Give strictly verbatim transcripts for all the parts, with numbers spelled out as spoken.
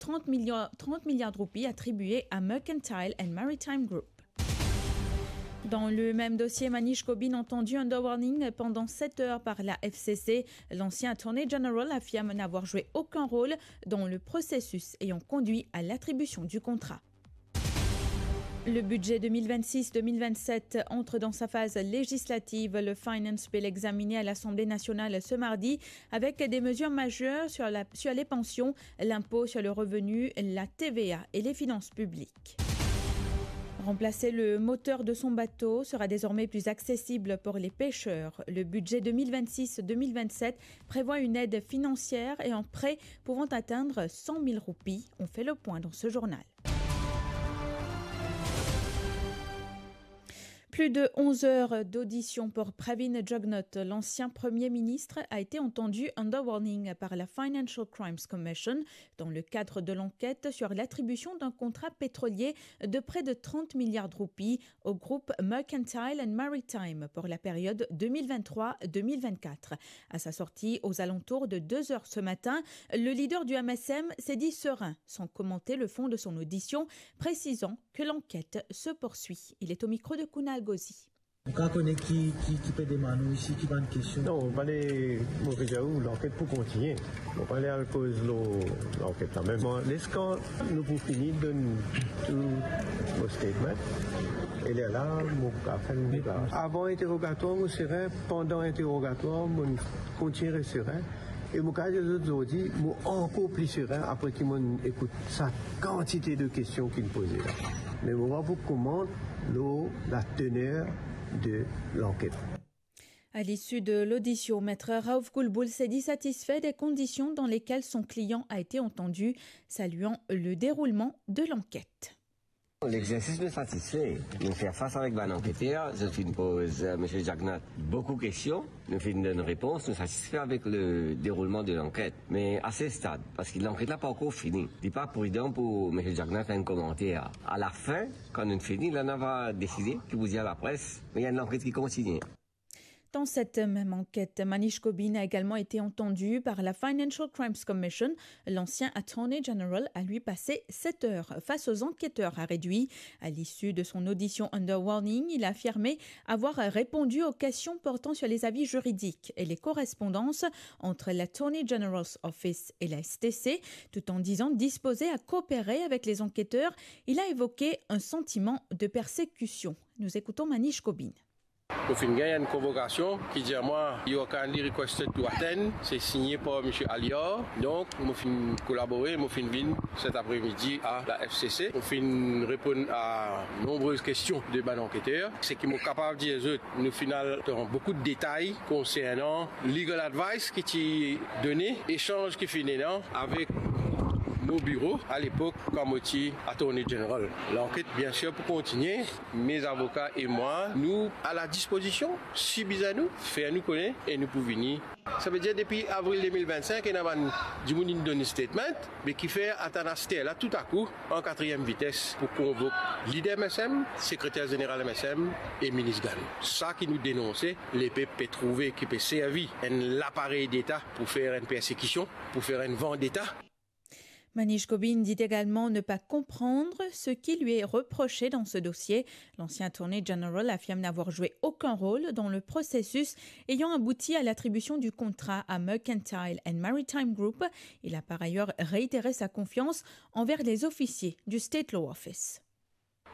trente milliards, trente milliards de roupies attribués à Mercantile and Maritime Group. Dans le même dossier, Manish Gobin entendu under warning pendant sept heures par la F C C. L'ancien Attorney General affirme n'avoir joué aucun rôle dans le processus ayant conduit à l'attribution du contrat. Le budget deux mille vingt-six deux mille vingt-sept entre dans sa phase législative. Le Finance Bill examiné à l'Assemblée nationale ce mardi avec des mesures majeures sur la, sur les pensions, l'impôt sur le revenu, la T V A et les finances publiques. Remplacer le moteur de son bateau sera désormais plus accessible pour les pêcheurs. Le budget deux mille vingt-six deux mille vingt-sept prévoit une aide financière et un prêt pouvant atteindre cent mille roupies. On fait le point dans ce journal. Plus de onze heures d'audition pour Pravin Jugnauth. L'ancien Premier ministre a été entendu under warning par la Financial Crimes Commission dans le cadre de l'enquête sur l'attribution d'un contrat pétrolier de près de trente milliards de roupies au groupe Mercantile and Maritime pour la période deux mille vingt-trois deux mille vingt-quatre. À sa sortie, aux alentours de deux heures ce matin, le leader du M S M s'est dit serein, sans commenter le fond de son audition, précisant que l'enquête se poursuit. Il est au micro de Kunal Ghosi. Ou kapav kone ki, ki, ki pe demann ou isi, ki bann kestion? Non, mo pale, mo pe dir ou, lanket pou kontigne. Mo pale al koz lor lanket la. Me mo, letan nou pou fini donn tou mo statement, e lerla, mo pou fer enn deklarasyon. Avan interogatwar, mo serin, pandan interogatwar, mo kontigne res serin. E mo kapav dir zot zordi, mo ankor pli serin apre ki mo'nn ekout sa kantite de kestion ki'nn poze la. Me mo pa pou komant lor la teneur de lanket. À l'issue de l'audition, Maître Raouf Koulboul s'est dit satisfait des conditions dans lesquelles son client a été entendu, saluant le déroulement de l'enquête. Lexersis nou satisfe. Nou fer fas avek bann anketer, zot finn poz, eh, Misie Jugnauth boukou kestion, nou finn donn repons, nou satisfe avek le deroulman de lanket. Me a se stad, parski lanket la pa ankor fini, li pa pridan pou Misie Jugnauth fer enn komanter. A la fin, kan nou fini, la nou va deside ki pou dir lapres, me ena enn lanket ki kontigne. Dans cette même enquête, Manish Gobin a également été entendu par la Financial Crimes Commission. L'ancien Attorney General a lui passé sept heures face aux enquêteurs, a réduit. À l'issue de son audition under warning, il a affirmé avoir répondu aux questions portant sur les avis juridiques et les correspondances entre l'Attorney General's Office et la S T C, tout en disant disposé à coopérer avec les enquêteurs. Il a évoqué un sentiment de persécution. Nous écoutons Manish Gobin. Mo finn gagn enn konvokasion ki dir mwa, "You are kindly requested to attend." Se signe par Misie Alior. Donk, mo finn kolabore, mo finn vinn set apremidi a la F C C. Mo finn reponn a nonbrez kestion de bann anketer. Seki mo kapav dir zot, nou finn al dan boukou de detay konsernan legal advice ki ti done, esanz ki finn ena avek mo biro a lepok kan mo ti Attorney General. Lanket, biensir, pou kontigne. Mes avocats et moi, nou a la dispozision, si bizin nou, fer nou kone e nou pou vini. Savedir depi avril de mil vennsenk, ena bann dimoun inn donn statement, me kifer atann aster la toutakou an katriem vites pou konvok lider M S M, sekreter zeneral M S M e minis Gano. Sa ki nou denonse, lepep pe trouve ki pe servi enn laparey deta pou fer enn persekision, pou fer enn vandeta. Manish Gobin dit également ne pas comprendre ce qui lui est reproché dans ce dossier. L'ancien Attorney General affirme n'avoir joué aucun rôle dans le processus ayant abouti à l'attribution du contrat à Mercantile and Maritime Group. Il a par ailleurs réitéré sa confiance envers les officiers du State Law Office.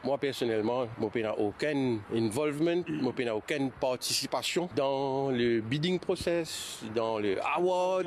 Mwa, personelman, mo pena okenn involvement, mo pena okenn partisipasion dan le bidding process, dan le award.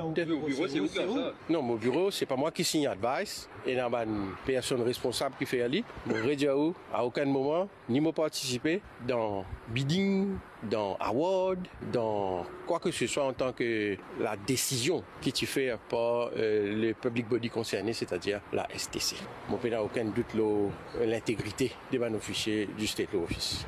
Non, mo biro, se pa mwa ki sign advice. Ena bann personn responsab ki fer li. Mo redir ou, a okenn moman, ni mo partisipe dan bidding, dan award, dan kwa ke se swa antan ke la desizion ki ti fer par, euh, le public body concerné, setadir la S T C. Mo pena okenn dout lor, euh, lintegrite de bann ofisie du State Law Office.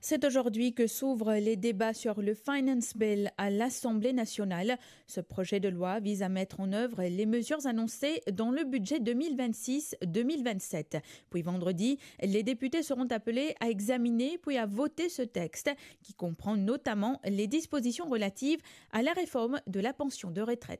C'est aujourd'hui que s'ouvrent les débats sur le Finance Bill à l'Assemblée nationale. Ce projet de loi vise à mettre en œuvre les mesures annoncées dans le budget deux mille vingt-six deux mille vingt-sept. Puis vendredi, les députés seront appelés à examiner puis à voter ce texte qui comprend notamment les dispositions relatives à la réforme de la pension de retraite.